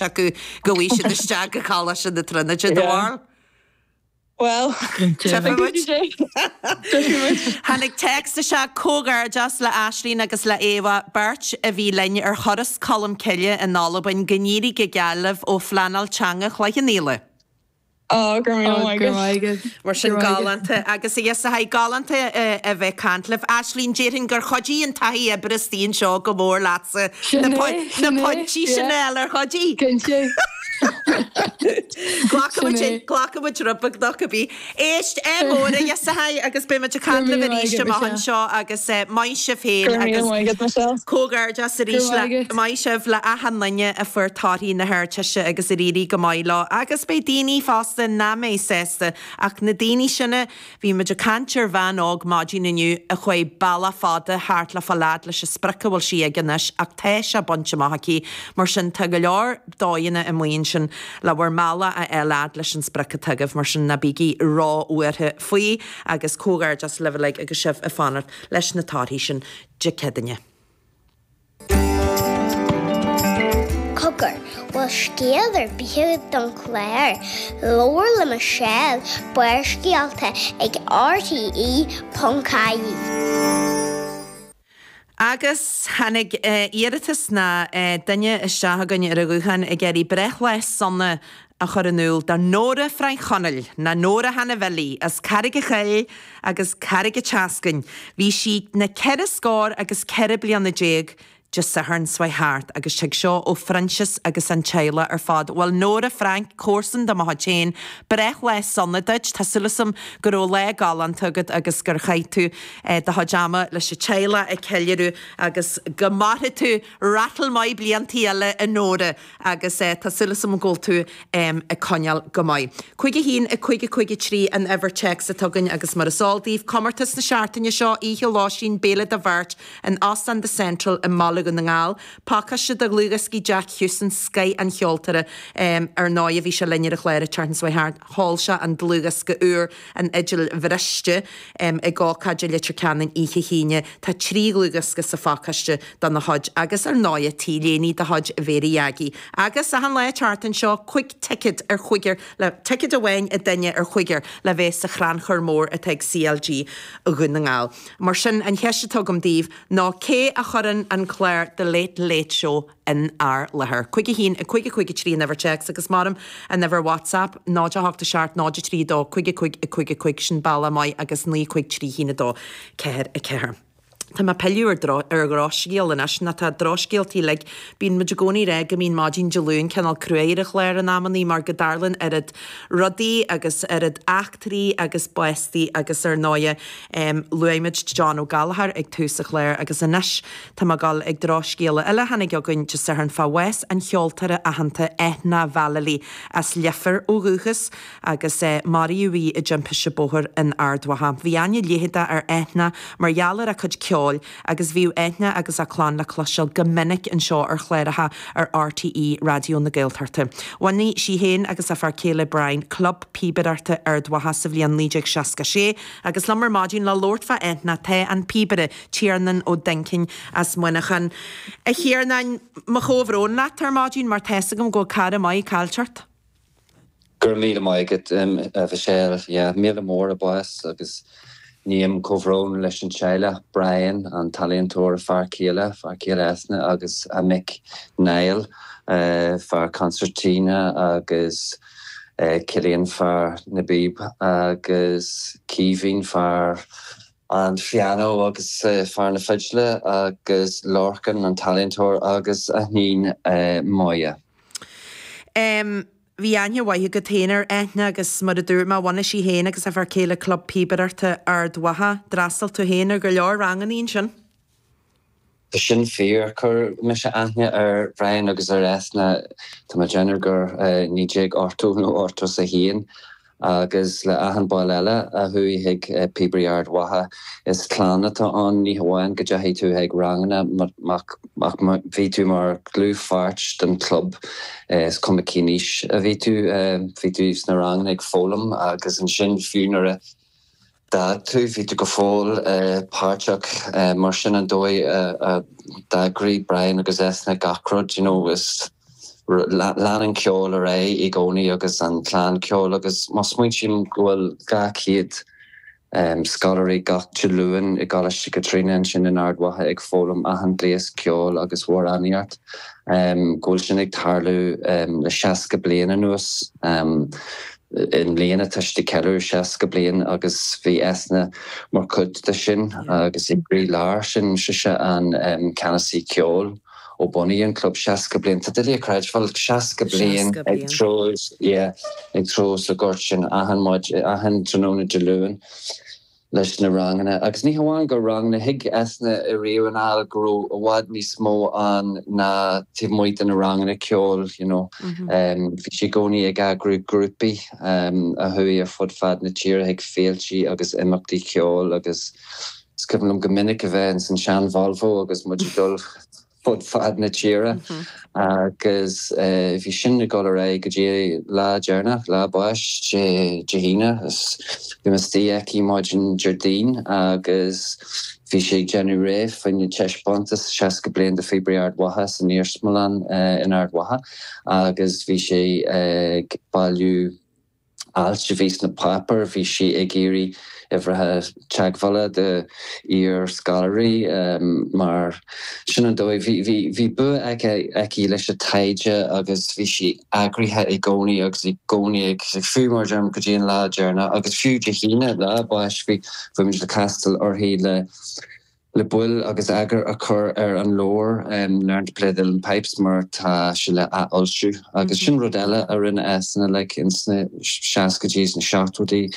Acu go bhfaighidh siad isteach go Coláiste na Tríonóide, do bharúil? Bhuel, Tchífidh muid. Tháinig téacs isteach, Comhghairdeas le Aislinn agus le Éabha, beirt a bhí linn ar thuras Cholm Cille in Albain, go n-éirí go geal libh ó Phleanáil Teanga Chloich Cheann Fhaola. Ó, go raibh míle maith agat. Mar sin, galánta. Agus a fhios a galánta a bheith ag caint libh. Aislinn, déarfainn gur chuidigh an taithí oibre istigh anseo go mór leatsa na pointí sin a fháil, ar chuidigh? Cinnte. Glacfaidh muid rud beag nó cibé. Éist, ádh mór a fhios a agus beidh muid ag caint libh arís amach anseo agus maith sibh féin agus comhghairdeas arís le maith sibh le achan duine a fuair torthaí na hArdteiste agus ar éirigh go maith leo agus beidh daoine fosta nach mbeidh sásta ach na daoine sin a Bhí muid ag caint ar bhean óg maidin inniu a chuaigh bealach fada thart le fáil fhad leis an sprioc a bhfuil sí aige anois ach tá sé bainte amach aici, mar sin tá go leor dóigheanna amuigh ansin le bhur mbealach a fháil fhad leis an sprioc atá agaibh, mar sin ná bígí ró-bhuartha faoi agus comhghairdeas libh uilig agus sibh ag fanacht leis na torthaí sin Dé Céadaoine. Cogar, bhfuil scéal ar bith agat don chlár? Labhair le Michelle, Barrscéalta ag RTE.ie. Agus tháinig iarratas nó duine isteach chugainn ar an ghuthán ag iarraidh breithlá sona a chur in iúl do Nóra Frainc Chonaill, nó Nóra Hannah Bhilly, as Carraig a' Choill agus Carraig a' tSeascainn. Bhí sí na ceithre scór agus 14 bliana Dé Sathairn seo chuaigh thart agus tig seo ó Phroinsias agus an teaghlach ar fad. Bhuel Nóra Frainc, comharsan de mo chuid féin, breithlá sona duit. Tá súil agam go raibh lá galánta agat agus gur chaith tú do chuid ama leis an teaghlach ag ceiliúradh agus go mairfidh tú rattle maith bliantaí eile a Nóra. Agus tá súil agam go bhfuil tú ag coinneáil go maith. 5 1 5 5 3 an uimhir téacs atá againn agus mar is eol daoibh, comórtas na seachtaine seo, oíche lóistín, béile do bheirt in Óstán The Central i mBaile Dhún na nGall. Pacáiste de dhlúthdhioscaí Jack Hewson, scoith an cheoltóra. Ar ndóigh bhí sé linn ar an chlár an tseachtain seo chuaigh thart, sheol sé an dlúthdhiosca úr, An Fhidil Bhriste, ag ócáid i Leitir Ceanainn oíche hAoine. Tá 3 dhlúthdhiosca sa phacáiste dona chuid agus ar ndóighe T-léine de chuid Mhéirí Aggie. Agus achan lá an tseachtain seo, 5 ticéad ar chúigear le, ticéad amháin ag duine ar chúigear le bheith sa chrannchur mór atá ag CLG Dhún na nGall. Mar sin, an cheist atá agam daoibh ná cé a chuireann an clár The Late Late Show inár láthair? 5 1 5 5 3 an uimhir téacs agus maram an uimhir WhatsApp 0 8 7 0 3 2 5 5 5 5 sin bealach maith agus 9 5 3 1 2 4 4. Tá mé ag pilleadh ar ar dhrochscéal anois, nó tá drochscéaltaí uilig. Bíonn muid i gcónaí ag rá go mbíonn maidin Dé Luain cineál cruaidh ar an chlár in amannaí mar go dtarlaíonn oiread rudaí agus oiread eachtraí agus bástaí agus ar ndóighe luaigh muid John Ó Gallchóir ag tús an chláir agus anois tá mé ag dul ag drochscéala eile a tháinig chugainn Dé Sathairn fá bhás an cheoltóra aitheanta Eithne Vallely as Leifear ó dhúchas agus maraíodh í i dtimpiste bóthair in Ard Mhacha. Bhí aithne leitheadach ar Eithne mar gheall ar a cuid ceoil agus bhíodh Eithne agus a clann le cloisteáil go minic anseo ar chláracha ar RTÉ Raidió na Gaeltachta. Bhunaigh sí féin agus a fear céile Brian Club Píobaireachta Ard Mhacha sa bhliain 1966 agus liom ar maidin le labhairt fá Eithne tá an píobaire Tiarnán Ó Duincín as Muineachán. A Thiarnáin, mo chomhbhrón leat ar maidin mar tá's agam go bhfuil cara maith caillte ort. Go raibh míle maith agat, a Mhichelle. Yeah, míle mór a bás agus ním comhbhrón leis an teaghlach, Brian, an t-ealaíontóir, a fear céile, fear céile Eithne agus a mic Niall, fear consairtín agus Cillian, fear na bpíob agus Caoimhín, fear an phianó agus fear na fidle agus Lorcan, an t-ealaíontóir agus a hiníon Moya. M, Bhí aithne mhaith agat féin ar Eithne agus mar a dúirt mé, bhunaigh sí féin agus a fear céile Club Píobaireachta Ard Mhacha. D'fhreastail tú féin ar go leor ranganna ansin. Tá sin fíor. Chuir mise aithne ar Bhrian agus ar Eithne, tá mé ag déanamh gur 1980 nó 81. Agus le achan ball eile a chuaigh chuig Píobairí Ard Mhacha, is clann atá ann, ní hamháin go dteachaigh tú chuig ranganna ach bhí tú mar dhlúthpháirt den chlub, is cuma cén aois a bhí tú, bhí tú sna ranganna ag foghlaim agus ansin fiú nuair a d'fhág tú, bhí tú go fóill páirteach. Mar sin an dóigh a d'eagraigh Brian agus Eithne gach rud, you know, is. Lean an ceol ar aghaidh i gcónaí agus an clann ceoil agus má smaointím go bhfuil 200 scoláirí gach Dé Luain i gColáiste Chaitríona ansin in Ard Mhacha ag foghlaim achan gléas ceoil agus amhránaíocht, go bhfuil sin ag tarlú le 60 bliain anuas. I mbliana tá siad ag ceiliúradh 60 bliain agus bhí Eithne mar chuid de sin agus i gcroílár sin, sise an ceannasaí ceoil ó bunaíodh an club 60 bliain. Tá doiligh a chreidbheáil, 60 bliain ag treo, yeah, ag treo sa ghort sin achan maidin, achan tráthnóna Dé Luain. leis na ranganna. Agus ní hamháin gur ranganna, thuig Eithne riamh anall go raibh i bhfad níos mó ann ná taobh amuigh de na ranganna ceoil, you know. Bhí sí i gcónaí ag eagrú grúpaí a chuaigh ar fud fad na tíre chuig féiltí agus imeachtaí ceoil agus is cuimhin liom go minic a bheith ins an sean-Volvo agus muid ag dul fud fad na tíre agus bhí sin ag dul ar aghaidh go dtí lá deireanach, lá a báis, Dé hAoine. Bhí mé istigh aici maidin Déardaoin agus bhí sí ag déanamh réidh fá choinne taispeántas 60 bliain de Phíobairí Ard Mhacha san Iarsmalann in Ard Mhacha agus bhí sí ag bailiú ailt a bhí sna páipéir, bhí sí ag iarraidh uimhreacha teagmhála de iar-scoláirí mar sin an dóigh. Bhí, bhí, bhí bua aici, aici leis an taighde agus bhí sí eagraithe i gcónaí agus i gcónaí ag, fiú mar a deirim go dtí an lá deireanach agus fiú Dé hAoine, lá a báis, bhí, bhí muid le castáil uirthi le, le baill agus eagar a chur ar an leabhar Learn to Play the Uilleann Pipes mar tá sé le athfhoilsiú. Agus sin rud eile a rinne Eithne like ins na seascaidí is na seachtóidí,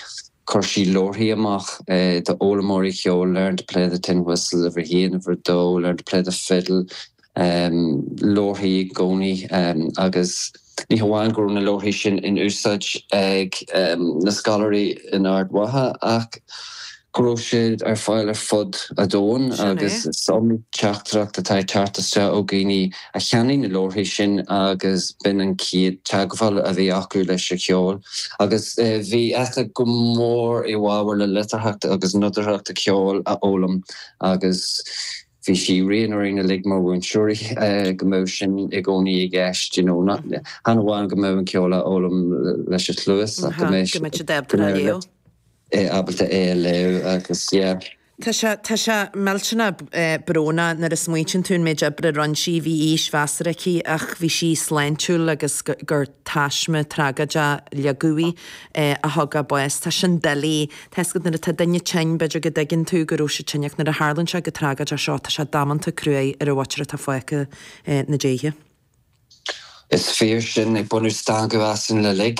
chuir sí leabharthaí amach d'fhoghlaimeoirí cheoil, Learn to Play the Tin Whistle, uimhir a haon, uimhir a dó, Learn to Play the Fiddle, leabharthaí i gcónaí agus ní hamháin go raibh na leabharthaí sin in úsáid ag na scoláirí in Ard Mhacha ach go raibh siad ar fáil ar fud an domhain agus is iomaí teachtaireacht atá ag teacht isteach ó dhaoine a cheannaigh na leabharthaí sin agus b'in an chéad teagmháil a bhí acu leis an cheol. Agus bhí Eithne go mór i bhfabhar le litearthacht agus nodaireacht an cheoil a fhoghlaim agus bhí sí ag rian orainn uilig mar mhúinteoirí go mbeadh sin i gcónaí i gceist, you know, chan amháin go mbeadh an ceol á fhoghlaim leis an chluas ach go mbeadh siad ábalta é a léamh agus yeah. Tá sé, tá sé millteanach brónach nuair a smaointíonn tú an méid oibre a rinne sí, bhí aois mheasartha aici ach bhí sí sláintiúil agus gur taisme tragóideach ligeadh í a thug a bás. Tá sin doiligh. Tá 'fhios agat nuair atá duine tinn, b'fhéidir go dtuigeann tú go raibh sé tinn ach nuair a tharlaíonn sé go tragóideach seo, tá sé damanta cruaidh ar an mhuintir atá fágtha 'na diaidh. Is fíor sin. Ag baineadh stangadh asainn uilig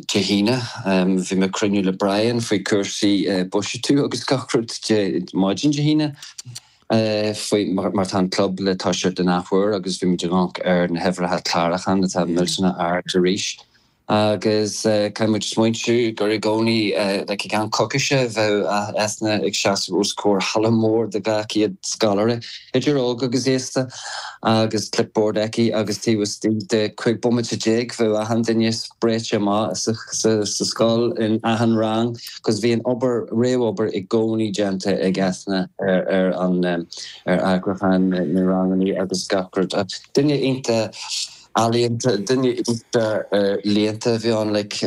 Dé hAoine. Bhí mé ag cruinniú le Brian faoi cúrsaí buiséadú agus gach rud maidin Dé hAoine faoi mar tá an club le toiseacht in athuair agus bhí muid ag amharc ar na huimhreacha clárúcháin atá millteanach ard arís. Agus caithfidh muid smaointiú gur i gcónaí, like i gceann coicíse, bheadh Eithne ag seasamh os comhair halla mór de 200 scoláire, idir óg agus aosta, agus clipboard aici agus taobh istigh de 15 bomaite bheadh achan duine spréite amach sa scoil in achan rang cos bhí an obair, réamhobair i gcónaí déanta ag Eithne ar an, ar eagrúchán na ranganna agus gach rud. Duine iontach. Ealaíonta, duine iontach léannta a bhí ann, like,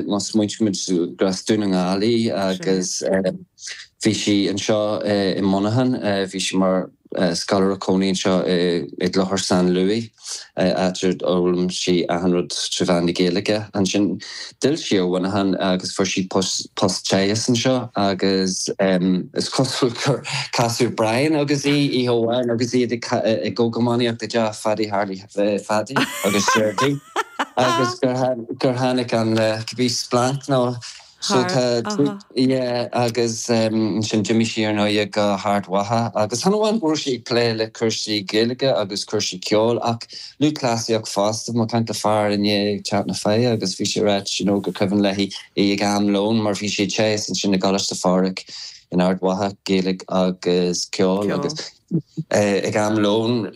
má smaointímid gur as Dún na nGall í agus bhí sí anseo i Muineachán, bhí sí mar scoláire cónaí anseo i gClochar San Louis, áit ar fhoghlaim sí achan rud trí mheán na Gaeilge. Ansin d'fhill sí ar Mhuineachán agus fuair sí post teaghais anseo agus is cosúil gur casadh Brian agus í oíche amháin agus iad ag iománaíocht i dteach Phaddy Harley Phaddy agus Seirdí agus gur tháinig an cibé splanc nó so tá yeah agus ansin d'imigh sí ar ndóigh go hArd Mhacha agus chan amháin go raibh sí ag plé le cúrsaí Gaeilge agus cúrsaí ceoil ach lúthchleasaíocht fosta. Bhí mé ag caint le fear inné ag Teach na Faiche agus bhí sé ag ráit you know gur cuimhin léi í ag am lóin mar bhí sí ag teagasc ansin i gColáiste Phádraig in Ard Mhacha, Gaeilge agus ceol agus Ag am lóin,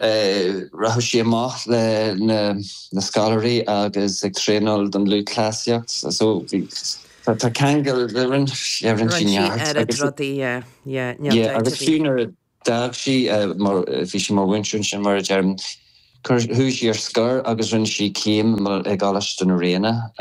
rachadh sí amach le na scoláirí agus ag traenáil don lúthchleasaíocht. So bhí, tá ceangal, rinne sí neart. Oiread rudaí, yeah, yeah, níl dabht ar bith. Agus fiú nuair a d'fhág sí, mar, bhí sí mar mhúinteoir ansin mar a deirim. Chuaigh sí ar scor agus rinne sí céim i gColáiste na Ríona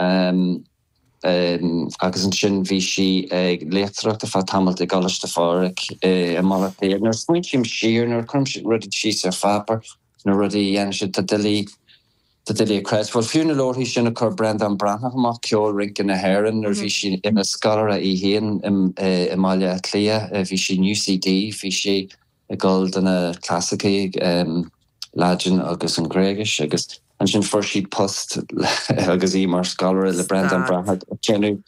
agus ansin bhí sí ag léachtóireacht ar feadh tamaill i gColáiste Phádraig i mBaile Átha Cliath. Nuair a smaointím siar, nuair a chuirim rudaí síos ar pháipéar, na rudaí a dhéanann siad, tá doiligh, tá doiligh a chreidbheáil. Fiú na leabharthaí sin a chuir Breandán Breathnach amach, Ceol Rince na hÉireann, nuair a bhí sí ina scoláire í féin i mBaile Átha Cliath, bhí sí in UCD, bhí sí ag dul do na clasaicí, Laidin agus an Ghréigis, agus ansin fuair sí post agus í mar scoláire le Breandán Breathnach ag déanamh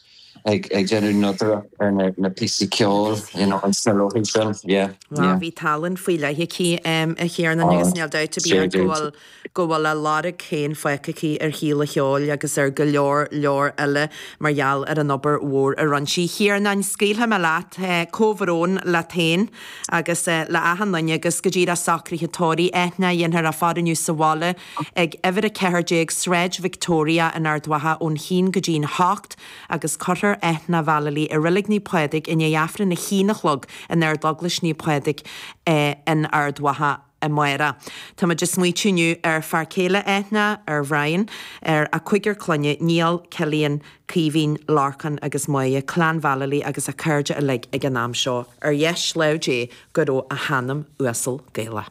ag déanamh nodaireacht ar na píosaí ceoil you know sna leabharthaí sin. Yeah, yeah. Bhí tallann faoi leith aici a Chiarnáin agus níl dabht ar bith ach go bhfuil go bhfuil a lorg féin fágtha aici ar shaol an cheoil agus ar go leor leor eile mar gheall ar an obair mhór a rinne sí. A Chiarnáin, scaoilfidh mé leat. Comhbhrón leat féin agus le achan duine agus go díreach socruithe tórraimh Eithne a dhéanfar á faire inniu sa bhaile ag uimhir 14 Sráid Victoria in Ard Mhacha ón haon go dtí'n hocht agus cuirfear Eithne Vallely i Reilig Naomh Pádraig i ndiaidh Aifreann a haon a chlog in Ardeaglais Naomh Pádraig in Ard Mhacha. amárach. Táimid ag smaoitiú inniu ar fear céile Eithne, ar Bhrian, ar a cúigear clainne, Niall, Cillian, Caoimhín, Lorcán agus Máire, clann Vallely agus a cairde uilig ag an am seo. Ar dheis lámh Dé go raibh a hanam uasal Gaelach.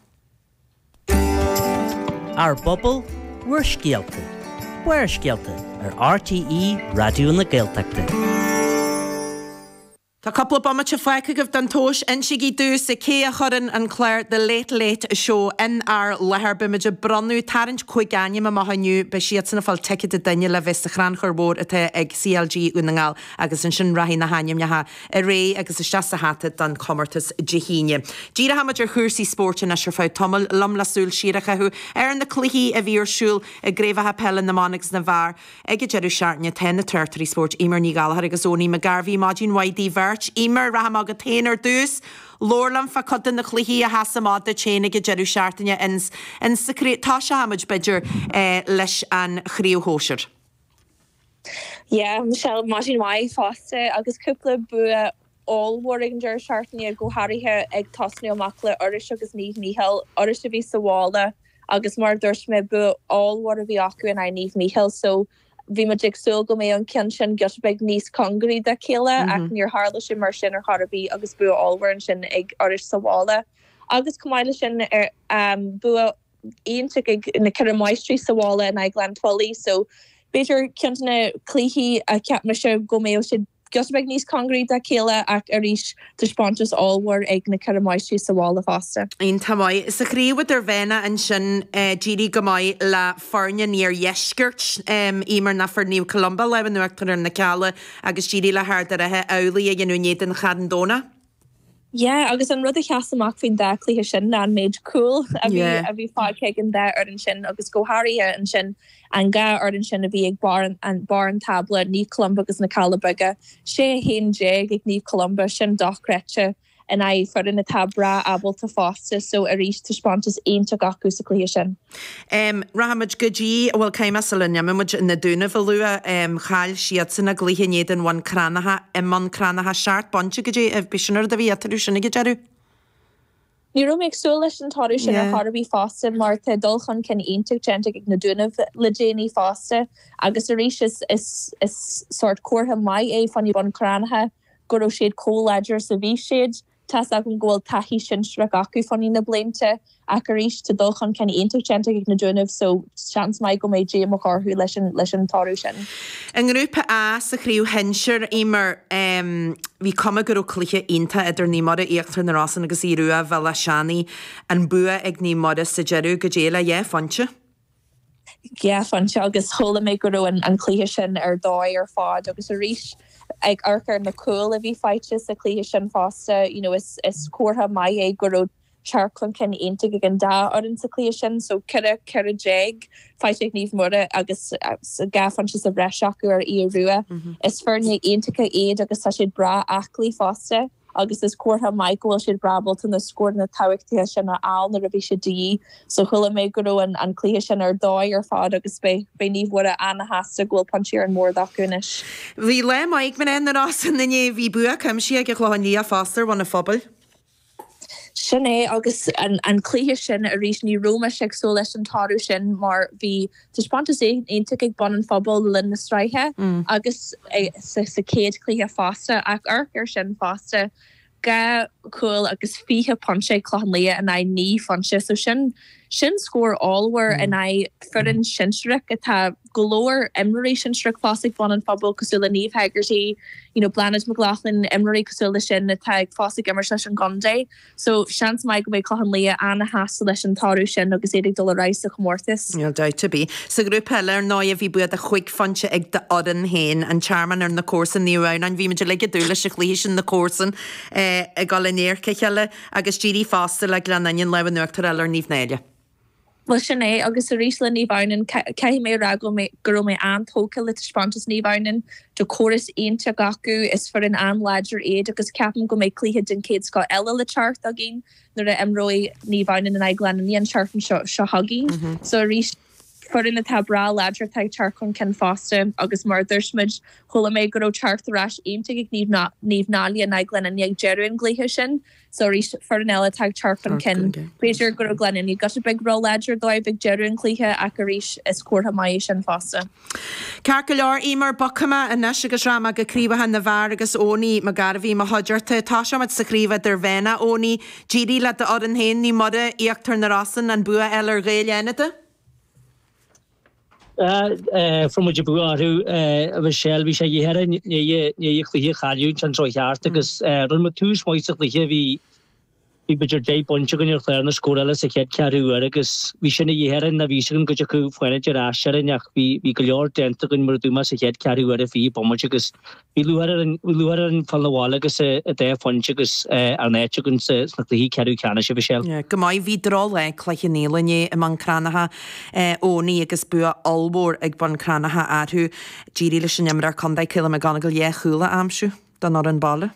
Ár bpobal, bhur scéalta. Barrscéalta ar RTÉ Raidió na Gaeltachta. Tá cúpla bomaite fágtha agaibh don tomhas. Insígí domhsa cé a chuireann an clár The Late Late Show inár láthair. Beimid ag bronnadh, tarraingt 5 ainm amach inniu. Beidh siadsan ag fáil ticéad an duine le bheith sa chrannchur mhór atá ag CLG Dhún na nGall agus ansin rachaidh na hainmneacha ar aghaidh agus isteach sa hata don chomórtas Dé hAoine. Díreoidh muid ar chúrsaí spóirt anois ar feadh tamaill, liom le súil siar a chaitheamh ar na cluichí a bhí ar siúl i gcraobhacha peile na mban agus na bhfear. Ag an deireadh seachtaine tá na tráchtairí spóirt Eimear Ní Ghallchóir agus Owenie McGarvey. Maidin mhaith daoibh beirt. Eimear, rachaidh mé chugat féin ar dtús. Labhair liom fá chuid de na cluichí a sheas amach duit féin ag an deireadh seachtaine ins sa chraobh. Tosóidh muid, b'fhéidir, leis an chraobh shóisir. Yeah, Michelle, maidin mhaith fosta agus cúpla bua ollmhór ag an deireadh seachtaine, go háirithe ag tosnú amach le Iorrais agus Naomh Mícheál. Iorrais a bhí sa bhaile agus mar a dúirt mé, bua ollmhór a bhí acu in aghaidh Naomh Mícheál so bhí muid ag súil go mbeadh an ceann sin giota beag níos cóngaraí dá chéile ach níor tharla sé mar sin ar chor ar bith agus bua ollmhór ansin ag Iorrais sa bhaile. Agus chomh maith leis sin, bua iontach ag na Ceithre Máistrí sa bhaile in aghaidh Ghleann tSúilí so b'fhéidir ceann de na cluichí a cheap mise go mbeadh siad giota beag níos cóngaraí dá chéile ach arís taispeántas ollmhór ag na Ceithre Máistrí sa bhaile fosta. Iontach maith. Sa chraobh idirmheánach ansin d'éirigh go maith le foirne an iardheiscirt, Eimear ná fuair Naomh Columba lámh in uachtar ar na Cealla agus d'éirigh le hArd an Rátha amhlaidh a dhéanamh in éadan Charn Domhnach. Yeah, agus an rud a sheas amach faoin dá chluiche sin ná an méid cúl a bhí a bhí faighte ag an dá fhoireann sin agus go háirithe ansin an dhá fhoireann sin a bhí ag barr an barr an tábla, Naomh Columba agus na Cealla Beaga. 16 1 ag Naomh Columba, sin dochreidte in aghaidh foireann atá breá ábalta fosta so arís taispeántas iontach acu sa chluiche sin. Rachaimid go dtí, bhuel, caithfidh mé sula n-imeoimid, na Dúnaibh a lua. Chaill siadsan a gcluiche in éadan Bhun Cranncha, i mBun Cranncha, seacht bpointe go dtí, b'shin an rud a bhí eatarthu sin ag an deireadh. Ní raibh mé ag súil leis an toradh sin ar chor ar bith fosta mar tá dul chun cinn iontach déanta ag na Dúnaibh le déanaí fosta agus arís is is is sórt comhartha maith é fá choinne Bun Cranncha go raibh siad chomh láidir is a bhí siad. Tá's agam go bhfuil taithí sinsearach acu fá choinne na blianta ach arís tá dul chun cinn iontach déanta ag na Dúnaibh so seans maith go mbeidh díomách orthu leis an leis an toradh sin. I nGrúpa A sa chraobh shinsir, Eimear, bhí cuma go raibh cluiche iontach idir Naomh Muire, Íochtar na Rosann agus Aodh Rua, Bhéal Átha Seanaidh. An bua ag Naomh Muire sa deireadh, goidé le dhá phointe. 2 phointe agus chuala mé go raibh an cluiche sin ar dóigh ar fad agus arís ag amharc ar na cúil a bhí faighte sa chluiche sin fosta you know is is comhartha maith é go raibh teacht chun cinn iontach ag an dá fhoireann sa chluiche sin so 14 14 faighte ag Naomh Muire agus 2 phointe sa bhreis acu ar Aodh Rua. Is foirne iontacha iad agus tá siad breá aclaí fosta. agus is comhartha maith go bhfuil siad breá ábalta na scóranna tábhachtacha sin a fháil nuair a bhí siad de dhíth. So chuala mé go raibh an cluiche sin ar dóigh ar fad agus beidh beidh Naomh Mhuire ana-shásta go bhfuil pointí ar an mbord acu anois. Bhí lá maith ag mná na Rosann inné. Bhí bua cuimsitheach ag an Chlochán Liath fosta ar Bhun an Phobail. Sin é agus an cluiche sin arís ní raibh mise ag súil leis an toradh sin mar bhí taispeántas iontach ag Bun an Phobail le linn na sraithe agus sa chéad chluiche fosta ach amharc air sin fosta, 2 chúl agus 20 pointe ag Clochán Liath in aghaidh 9 phointe so sin sin scór ollmhór in aghaidh foireann sinsearach atá go leor imreoirí sinsearach fós ag Bun an Phobail cosúil le Niamh Hegarty, you know Bláthnaid McLaughlin, imreoirí cosúil le sin atá ag fós ag imirt leis an gcontae. So seans maith go mbeidh Clochán Liath ana-shásta leis an toradh sin agus iad ag dul ar aghaidh sa chomórtas. Níl dabht ar bith. Sa ghrúpa eile, ar ndóigh, bhí bua de chúig phointe ag d'fhoireann féin, an Tearmann ar na comharsain, Naomh Adhamhnáin. Bhí muid uilig ag dúil leis an chluiche sin, na comharsain ag dul in adharca a chéile agus d'éirigh fosta le Gleann Fhinne lámh in uachtar a fháil ar Naomh Náille. Bhuel, sin é, agus arís le Naomh Adhamhnáin, caithfidh mé a rá go go raibh mé an-tógtha le taispeántas Naomh Adhamhnáin. Tá córas iontach acu, is foireann an-láidir iad agus ceapaim go mbeidh cluiche den chéad scoth eile le teacht againn nuair a imreoidh Naomh Adhamhnáin in aghaidh Gleann Fhinne an tseachtain seo seo chugainn. So arís, foireann atá breá láidir atá ag teacht chun cinn fosta agus mar a dúirt muid, chuala mé go raibh teacht ar ais iontach ag Naomh Náille in aghaidh Gleann Fhinne ag deireadh an gcluiche sin. So arís, foireann eile atá ag teacht chun cinn. B'fhéidir go raibh Gleann Fhinne giota beag ró-láidir dóibh ag deireadh an chluiche ach arís, is comhartha maith é sin fosta. Ceart go leor, Eimear, bogfaidh mé anois agus rachaidh mé go craobhacha na bhfear agus Owenie Mac Gairbhí i mo chuideachta. Tosóimid sa chraobh idirmheánach, Owenie. D'éirigh le d'fhoireann féin, Naomh Muire, Íochtar na Rosann, an bua a fháil ar Ghaeil Fhánada. Fuair muid an bua orthu, a Mhichelle. Bhí sé de dhíth orainn i ndiaidh an chluiche a chailliúint an tráth cheart agus rinne muid tús maith sa chluiche. Bhí bhí b'fhéidir 10 bpointe againn ar chlár na scórála sa chéad cheathrú uair agus bhí sin de dhíth orainn. Bhí fhios againn go dtiocfadh Fánaid ar ais orainn ach bhí bhí go leor déanta againn mar a dúirt mé sa chéad cheathrú uair i 20 bomaite agus Bhí lúcháir orainn, bhí lúcháir orainn fáil 'na bhaile agus an dá phointe agus ár n-áit againn sna cluichí ceathrú ceannais, a Mhichelle. Yeah, go maith. Bhí drochlá ag Cloich Cheann Fhaola inné i mBun Cranncha, Owenie agus bua ollmhór ag Bun Cranncha orthu. D'éirigh leis an imreoir contae Caolan McGonagle dhá chúl a aimsiú don fhoireann baile.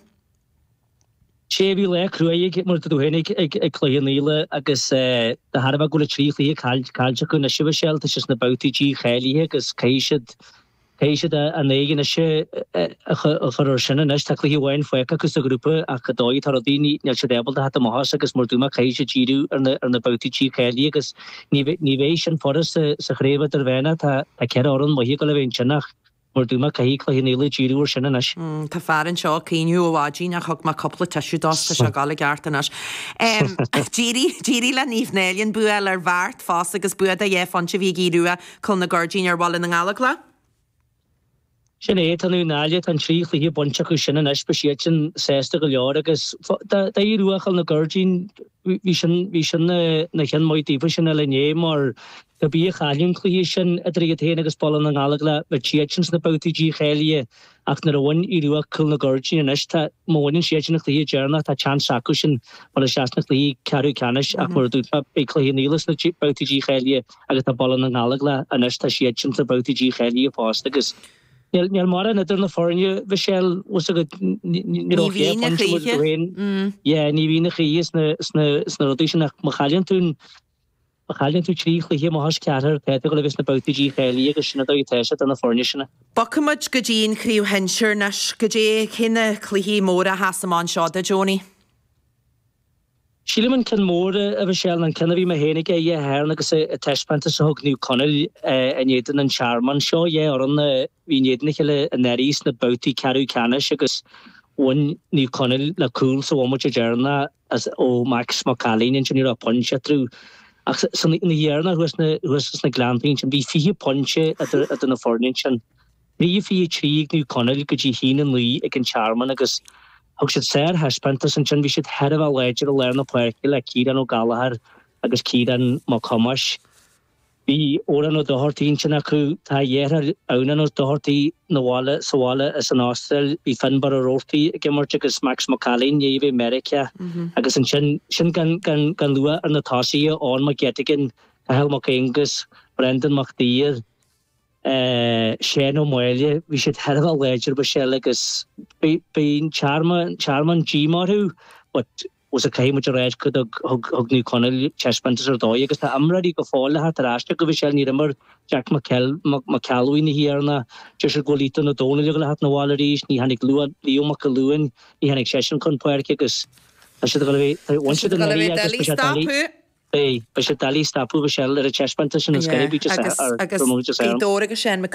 Sea, bhí lá cruaidh ag, mar a dúirt tú féin, ag Cloich Cheann Fhaola agus de thairbhe go bhfuil an trí chluiche caillte acu anois, a Mhichelle, tá siad sna babhtaí dícháilithe agus caithfidh siad, caithfidh siad a n-aghaidh anois a chur air sin anois. Tá cluiche amháin fágtha acu sa ghrúpa ach an dóigh atá rudaí, níl siad ábalta theacht amach as agus mar a dúirt mé, caithfidh siad díriú ar na, ar na babhtaí dícháilithe agus ní, ní bheidh sin furast sa, sa chraobh idirmheánach. Tá, tá ceithre fhoireann maithe ag dul a bheith ansin ach Mar a dúirt mé, caithfidh Cloich Cheann Fhaola díriú ar sin anois. Tá fear anseo ag caoineadh ó mhaidin ach thug mé cúpla tissue dó tá sé ag dul i gceart anois. D'éirigh, d'éirigh le Naomh Náille an bua a fháil ar Bheart fosta agus bua de dhá phointe a bhí ag Aodh Rua Cúil na Goirdín ar Bhaile na nGallóglach. Sin é, tá Naomh Náille, tá an trí chluiche bainte acu sin anois, beidh siadsan sásta go leor agus d'Aodh Rua Chúil na Goirdín, bhí sin, bhí sin ina cheann maith daofa sin eile inné mar Cé bith a chailleann an cluiche sin idir iad féin agus Baile na nGallóglach, bheadh siadsan sna babhtaí dícháilithe ach nuair a bhain Aodh Rua Cúl na Goirdín anois, tá, má bhaineann siadsan an cluiche deireanach, tá seans acu sin dul isteach sna cluichí ceathrú ceannais ach mar a dúirt mé, beidh Cloich Cheann Fhaola sna babhtaí dícháilithe agus tá Baile na nGallóglach anois, tá siadsan sna babhtaí dícháilithe fosta agus níl, níl mórán idir na foirne, Mhichelle, bhfuil 's agat, ní raibh ach dhá pointe mar a dúirt tú féin, yeah, ní bhíonn a choíche sna, sna, sna rudaí sin ach má chailleann tú an, Má chailleann tú trí chluiche amach as ceathair, tá tú ag dul a bheith sna babhtaí dícháilithe agus sin an dóigh atá sé do na foirne sin. Bogfaimid go dtí an chraobh shinsir anois. Goidé, cé na cluichí móra a sheas amach anseo duit, Owenie? Sílim an ceann mór, a Mhichelle, ná an ceann a bhí mé féin ag Dé Sathairn agus an taispeántas a thug Naomh Conaill in éadan an Tearmain. Seo dhá fhoireann a bhí in éadan a chéile anuraidh sna babhtaí ceathrú ceannais agus bhain Naomh Conaill le cúl sa bhomaite deireanach. as ó Max Mac Ailín ansin ní raibh pointe eatarthu ach san oíche dheireanach thuas na thuas sna Gleanntaí ansin bhí 20 pointe idir idir na foirne ansin. 3-23 ag Naomh Conaill go dtí 1-9 ag an Tearmann agus thug siad sárthaispeántas ansin bhí siad thar a bheith láidir i lár na páirce le Ciarán Ó Gallchóir agus Ciarán Mac Thomáis. Bhí Odhrán Ó Dochartaigh ansin acu. Tá a dheartháir Adhamhnán Ó Dochartaigh 'na bhaile, sa bhaile as an Astráil. Bhí Fionnbarr Ó Roarty ag imirt agus Max Mac Ailín i ndiaidh a bheith i Meiriceá. Agus ansin, sin gan, gan, gan lua ar na tosaithe, Eoin Mac Eitigan, Cathal Mac Aonghus, Brendan Mac Duibhir, Seán Ó Máille. Bhí siad thar a bheith láidir, Michelle, agus beidh, beidh an Tearmann, Tearmann díomá orthu but, Bhuel caithfidh muid a rá go dtug thug Naomh Conaill taispeántas ar dóigh agus tá imreoirí go fóill le theacht ar ais acu Mhichelle níor imir Jack Mac Ceallbhuí an oíche dheireanach deir siad go bhfuil Ethan Ó Dónaill ag dul a theacht 'na bhaile arís ní tháinig Leo Mac Uilliúin ní tháinig seisean chun páirce agus. Tá siad ag dul a bheith, bhain siad Tá siad ag dul a anuraidh bheith agus doiligh beidh sé doiligh, stopadh. beidh, beidh sé doiligh stopadh Michelle ar an taispeántas sin is Yeah, gurb just agus, ar, agus gur mó just Gaoth Dobhair agus Seán McCool.